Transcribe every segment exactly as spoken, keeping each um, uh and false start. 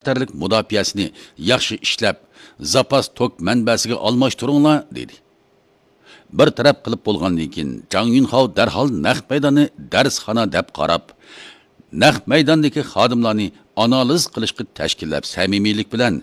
خەتەرلىك مۇداپىئەسىنى ياخشى ئىشلەپ، زاپاس توك مەنبەسىگە ئالماشتۇرۇڭلار، دېدى. بىر تەرەپ قىلىپ بولغاندىن كېيىن، جاڭ يۈنخاۋ دەرھال نەق مەيداننى دەرسخانا دەپ قاراپ، نەق مەيداندىكى خادىملارنى ئانالىز قىلىشقا تەشكىللەپ، سەمىمىيلىك بىلەن،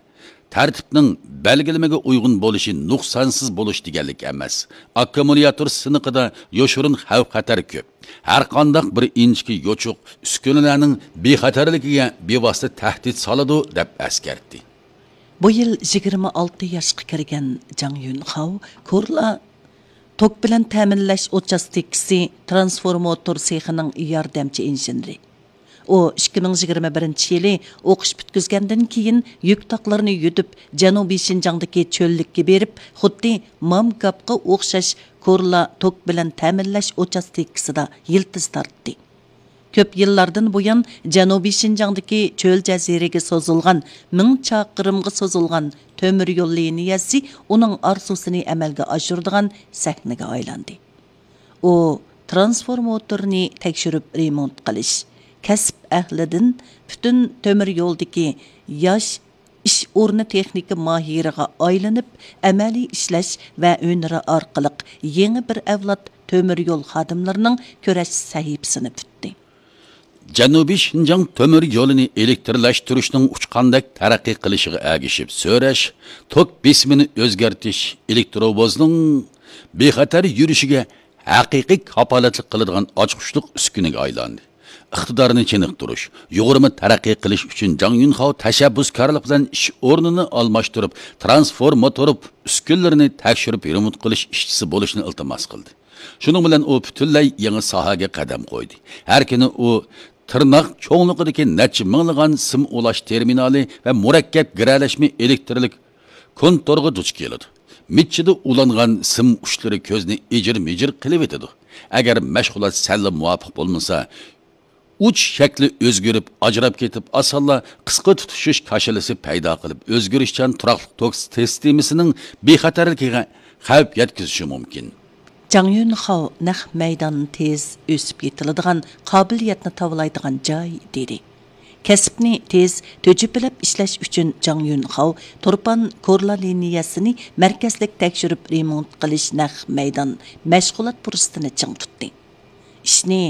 تەرتىپنىڭ بەلگىلىمىگە ئۇيغۇن بولۇشى، نۇقسانسىز بولۇش دېگەنلىك ئەمەس. ئاككۇمۇلياتور سىنىقىدا يوشۇرۇن خەۋپ-خەتەر كۆپ. ھەرقانداق بىر ئىنچىكە يوچۇق ئۈسكۈنىلەرنىڭ بىخەتەرلىكىگە بىۋاسىتە تەھدىت سالىدۇ، دەپ ئەسكەرتتى. بۇ يىل يىگىرمە ئالتە ياشقا كىرگەن جاڭ يۈنخاۋ كورلا توك بىلەن تەمىنلەش ئۇچاستكىسى ترانسفورماتور سېخىنىڭ ياردەمچى ئىنژېنېرى. ئۇ ئىككى مىڭ يىگىرمە بىرىنچى يىلى ئوقۇش پۈتكۈزگەندىن كېيىن يۈك تاقلىرىنى يۈدۈپ، جەنۇبىي شىنجاڭدىكى چۆللۈككە بېرىپ، خۇددى مامگاپقا ئوخشاش كورلا توك بىلەن تەمىنلەش ئۇچاستكىسىدا يىلتىز تارتتى. كۆپ يىللاردىن بۇيان جەنۇبىي شىنجاڭدىكى چۆل جەزىرىگە سوزۇلغان، مىڭ چاقىرىمغا سوزۇلغان تۆمۈر يول لىنىيەسى ئۇنىڭ ئارزۇسىنى ئەمەلگە ئاشۇرىدىغان سەھنىگە ئايلاندى. ئۇ ترانسفورماتورنى تەكشۈرۈپ رېمونت قىلىش، كەسىپ ئەھلىدىن پۈتۈن تۆمۈر يولدىكى ياش ئىش ئورنى تېخنىكا ماھىرىغا ئايلىنىپ، ئەمەلىي ئىشلەش ۋە ھۈنىرى ئارقىلىق يېڭى بىر ئەۋلاد تۆمۈر يول خادىملىرىنىڭ كۈرەش سەھىپىسىنى پۈتتى. جەنۇبىي شىنجاڭ تۆمۈر يولىنى ئېلېكترلاشتۇرۇشنىڭ ئۇچقاندەك تەرەققىي قىلىشىغا ئەگىشىپ سۆرەش، توك بېسىمىنى ئۆزگەرتىش، ئېلېكتروۋوزنىڭ بىخەتەر يۈرۈشىگە ھەقىقىي كاپالەتلىك قىلىدىغان ئاچقۇچلۇق ئۈسكۈنىگە ئايلاندى. ئىقتىدارنى چېنىقتۇرۇش، يۇغۇرما تەرەققىي قىلىش ئۈچۈن جاڭ يۈنخاۋ تەشەببۇسكارلىق بىلەن ئىش ئورنىنى ئالماشتۇرۇپ، ترانسفورماتور ئۈسكۈنىلىرىنى تەكشۈرۈپ رېمونت قىلىش ئىشچىسى بولۇشنى ئىلتىماس قىلدى. شۇنىڭ بىلەن ئۇ پۈتۈنلەي يېڭى ساھەگە قەدەم قويدى. ھەر كۈنى ئۇ تىرناق چوڭلۇقىدىكى نەچچە مىڭلىغان سىم ئۇلاش تېرمىنالى ۋە مۇرەككەپ گىرەلەشمە ئېلېكترلىك كونتۇرغا دۇچ كېلىدۇ. مىچچىدا ئۇلانغان سىم ئۇچلىرى كۆزنى ئېجىر-مىجىر قىلىۋېتىدۇ. ئەگەر مەشغۇلات سەللا مۇۋاپىق بولمىسا، ئۇچ شەكلى ئۆزگىرىپ، ئاجراپ كېتىپ، ئاسانلا قىسقا تۇتىشىش كاشىلىسى پەيدا قىلىپ، ئۆزگىرىشچان تۇراقلىق توك سىستېمىسىنىڭ بىخەتەرلىكىگە خەۋپ يەتكۈزۈشى مۇمكىن. جاڭ يۈنخاۋ نەق مەيدان تېز ئۆسۈپ يېتىلىدىغان قابىلىيەتنى تاۋلايدىغان جاي، دېدى. كەسىپنى تېز تۈجۈپىلەپ ئىشلەش ئۈچۈن جاڭ يۈنخاۋ تۇرپان كورلا لىنىيەسىنى مەركەزلىك تەكشۈرۈپ رېمونت قىلىش نەق مەيدان مەشغۇلات پۇرسىتىنى چىڭ تۇتتى. ئىشنى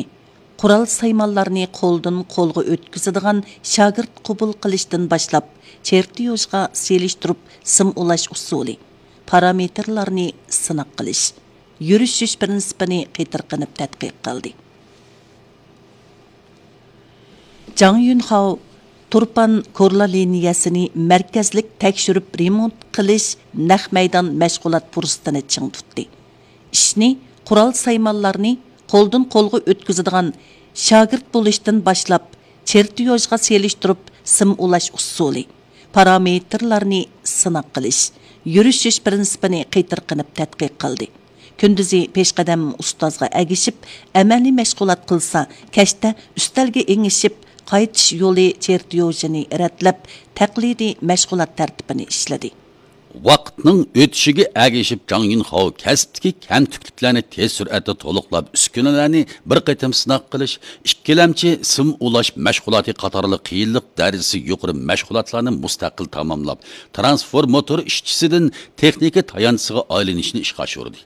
قورال سايمانلارنى قولدىن قولغا ئۆتكۈزىدىغان شاگىرت قوبۇل قىلىشتىن باشلاپ، چېرتيوژغا سېلىشتۇرۇپ سىم ئۇلاش ئۇسۇلى، پارامېتىرلارنى سىناق قىلىش، يۈرۈشۈش پىرىنسىپىنى قېتىرقىنىپ تەتقىق قىلدى. جاڭ يۈنخاۋ تۇرپان كورلا لىنىيەسىنى مەركەزلىك تەكشۈرۈپ رېمونت قىلىش نەق مەيدان مەشغۇلات پۇرسىتىنى چىڭ تۇتتى. ئىشنى قورال سايمانلارنى قولدىن قولغا ئۆتكۈزىدىغان شاگىرت بولۇشتىن باشلاپ، چېرتيوژغا سېلىشتۇرۇپ سىم ئۇلاش ئۇسۇلى، پارامېتىرلارنى سىناق قىلىش، يۈرۈشۈش پىرىنسىپىنى قېتىرقىنىپ تەتقىق قىلدى. كۈندۈزى پېشقەدەم ئۇستازغا ئەگىشىپ ئەمەلىي مەشغۇلات قىلسا، كەچتە ئۈستەلگە ئېڭىشىپ قايتىش يولى چېرتيوژىنى رەتلەپ، تەقلىدىي مەشغۇلات تەرتىپىنى ئىشلىدى. ۋاقىتنىڭ ئۆتۈشىگە ئەگىشىپ، جاڭ يۈنخاۋ كەسىپتىكى كەمتۈكلۈكلەرنى تېز سۈرئەتتە تولۇقلاپ، ئۈسكۈنىلەرنى بىر قېتىم سىناق قىلىش، ئىككىلەمچى سىم ئۇلاش مەشغۇلاتى قاتارلىق قىيىنلىق دەرىجىسى يۇقىرى مەشغۇلاتلارنى مۇستەقىل تاماملاپ، ترانسفورماتور ئىشچىسىدىن تېخنىكا تايانچىسىغا ئايلىنىشنى ئىشقا ئاشۇردى.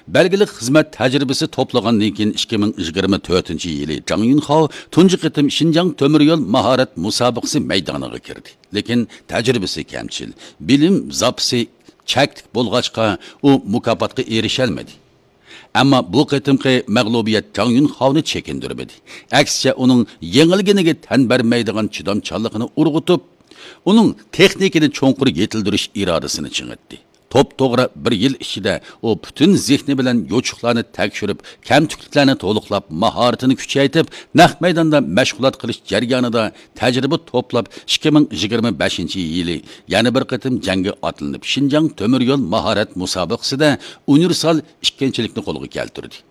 بەلگىلىك خىزمەت تەجرىبىسى توپلىغاندىن كېيىن، ئىككى مىڭ يىگىرمە تۆتىنچى يىلى جاڭ يۈنخاۋ تۇنجى قېتىم شىنجاڭ تۆمۈر يول ماھارەت مۇسابىقىسى مەيدانىغا كىردى. لېكىن تەجرىبىسى كەمچىل، بىلىم زاپىسى چەكلىك بولغاچقا، ئۇ مۇكاپاتقا ئېرىشەلمىدى. ئەمما بۇ قېتىمقى مەغلۇبىيەت جاڭ يۈنخاۋنى چېكىندۈرمىدى. ئەكسىچە، ئۇنىڭ يېڭىلگىنىگە تەن بەرمەيدىغان چىدامچانلىقىنى ئۇرغۇتۇپ، ئۇنىڭ تېخنىكىنى چوڭقۇر يېتىلدۈرۈش ئىرادىسىنى چىڭىتتى. توپتوغرا بىر يىل ئىچىدە ئۇ پۈتۈن زېھنى بىلەن يوچۇقلارنى تەكشۈرۈپ، كەمتۈكلۈكلەرنى تولۇقلاپ، ماھارىتىنى كۈچەيتىپ، نەق مەيداندا مەشغۇلات قىلىش جەريانىدا تەجرىبە توپلاپ، ئىككى مىڭ يىگىرمە بەشىنچى يىلى يەنە بىر قېتىم جەڭگە ئاتلىنىپ، شىنجاڭ تۆمۈر يول ماھارەت مۇسابىقىسىدە ئۇنىۋېرسال ئىككىنچىلىكنى قولغا كەلتۈردى.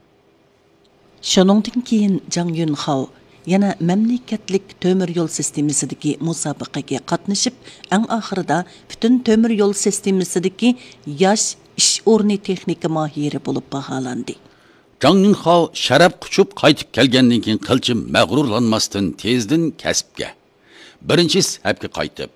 شۇنىڭدىن كېيىن جاڭ يۈنخاۋ يەنە مەملىكەتلىك تۆمۈر يول سىستېمىسىدىكى مۇسابىقىگە قاتنىشىپ، ئەڭ ئاخىرىدا پۈتۈن تۆمۈر يول سىستېمىسىدىكى ياش ئىش ئورنى تېخنىكا ماھىرى بولۇپ باھالاندى. جاڭ يۈنخاۋ شەرەپ قۇچۇپ قايتىپ كەلگەندىن كېيىن قىلچە مەغرۇرلانماستىن، تېزدىن كەسىپكە، بىرىنچى سەپكە قايتىپ،